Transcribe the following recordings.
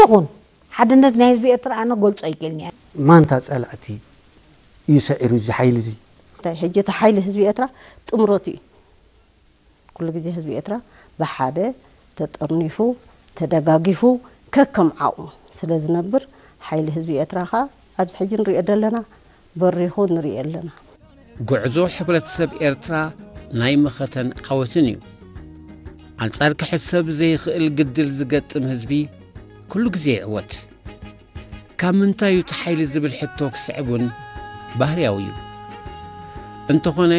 ይኹን ሓድነት ናይ ህዝቢ ኤርትራ ኣነ ገልጾ ኣይክእልን እየ። ማንታ ጸላእቲ እዩ ሰዒሩ እዚ ሓይሊ እዚ? እንታይ ሕጂ እቲ ሓይሊ ህዝቢ ኤርትራ ጥምረቱ እዩ። ኩሉ ግዜ ህዝቢ ኤርትራ ብሓደ ተጠርኒፉ ተደጋጊፉ ከከም ዓቕሙ ስለ ዝነብር ሓይሊ ህዝቢ ኤርትራ ኸኣ ኣብዚ ሕጂ ንሪኦ ዘለና በሪኹ ንሪኦ ኣለና። ጉዕዞ ሕብረተሰብ ኤርትራ ናይ መኸተን ዓወትን እዩ። ኣንጻር ክሕሰብ ዘይኽእል ግድል ዝገጥም ህዝቢ ኩሉ ግዜ ይዕወት። ካብ ምንታይ እዩ እቲ ሓይሊ ዝብል ሕቶ ክስዕብ እውን ባህርያዊ እዩ። እንተኾነ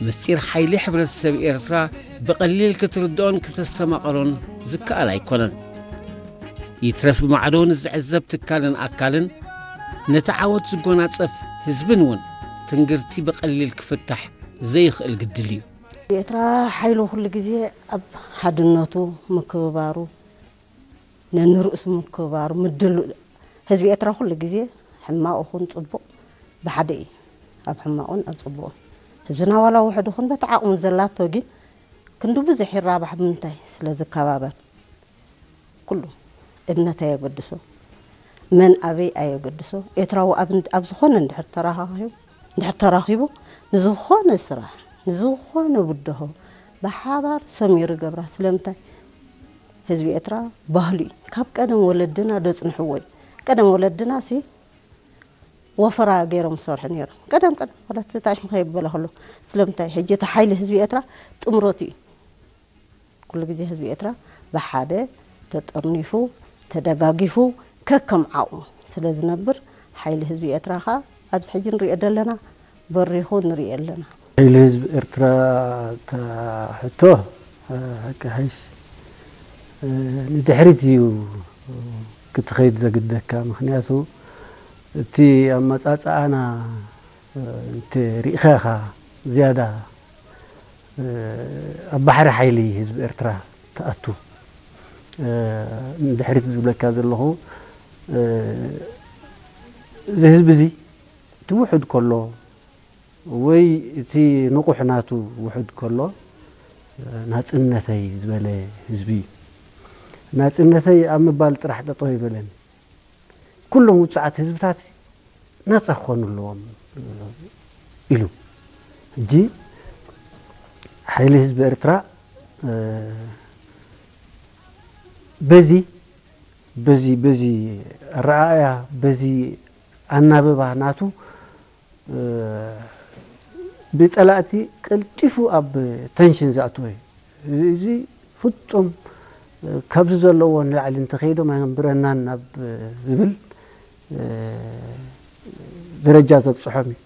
ምስጢር ሓይሊ ሕብረተሰብ ኤርትራ ብቐሊል ክትርድኦን ክተስተማቐሮን ዝከኣል ኣይኮነን። ይትረፍ ብማዕዶ ንዝዕዘብ ትካልን ኣካልን ነቲ ዓወት ዝጎናጸፍ ህዝብን እውን ትንግርቲ ብቐሊል ክፍታሕ ዘይኽእል ግድል እዩ። ኤርትራ ሓይሉ ኩሉ ግዜ ኣብ ሓድነቱ ምክብባሩ ነንርእሱ ምክብባሩ ምድሉ ህዝቢ ኤርትራ ኩሉ ግዜ ሕማቕ ይኹን ጽቡቕ ብሓደ እዩ ኣብ ሕማቑን ኣብ ጽቡቕን ህዝብና ዋላ ውሕድ ይኹን በቲ ዓቕሙ ዘላቶ ግን ክንዲ ብዙሕ ይራባሕ ብምንታይ ስለ ዝከባበር ኩሉ እምነት ኣየገድሶ መን ኣበይ ኣየገድሶ ኤርትራዊ ኣብ ዝኾነ እንድሕር ተራኻኺቡ እንድሕር ተራኺቡ ንዝኾነ ስራሕ ንዝኾነ ብድሆ ብሓባር ሰሚሩ ይገብራ ስለምንታይ ህዝቢ ኤርትራ ባህሉ እዩ ካብ ቀደም ወለድና ደጽንሕዎ እዩ ቀደም ወለድና ሲ ወፈራ ገይሮም ዝሰርሑ ነይሮም ቀደም ቀደም ማለት ታሽሙ ከይበለ ከሎ ስለምንታይ ሕጂ እቲ ሓይሊ ህዝቢ ኤርትራ ጥምረቱ እዩ ኩሉ ግዜ ህዝቢ ኤርትራ ብሓደ ተጠርኒፉ ተደጋጊፉ ከከም ዓቕሙ ስለ ዝነብር ሓይሊ ህዝቢ ኤርትራ ኸኣ ኣብዚ ሕጂ ንሪኦ ዘለና በሪኹ ንሪኦ ኣለና። ሓይሊ ህዝቢ ኤርትራ እታ ሕቶ ሓቂ ሓይሽ ንድሕሪት እዩ ክትኸይድ ዘግደካ ምክንያቱ እቲ ኣመፃፅኣና እንተ ሪኢኻ ኢኻ ዝያዳ ኣብ ባሕሪ ሓይሊ ህዝቢ ኤርትራ ትኣቱ ንድሕሪት ዝብለካ ዘለኹ እዚ ህዝቢ እዚ እቲ ውሑድ ከሎ ወይ እቲ ንቑሕ ናቱ ውሑድ ከሎ ናፅነተይ ዝበለ ህዝቢ እዩ ናፅነተይ ኣብ ምባል ጥራሕ ጠጠው ይበለን ኩሎም ውፅዓት ህዝብታት ነፃ ክኾኑ ኣለዎም ኢሉ ሕጂ ሓይሊ ህዝቢ ኤርትራ በዚ በዚ በዚ ኣረኣእያ በዚ ኣናብባ ናቱ ብፀላእቲ ቀልጢፉ ኣብ ተንሽን ዝኣትዎ እዩ እዚ ፍፁም ካብዚ ዘለዎ ንላዕሊ እንተኸይዶም ኣየንብረናን ናብ ዝብል ደረጃ ዘብፅሖም እዩ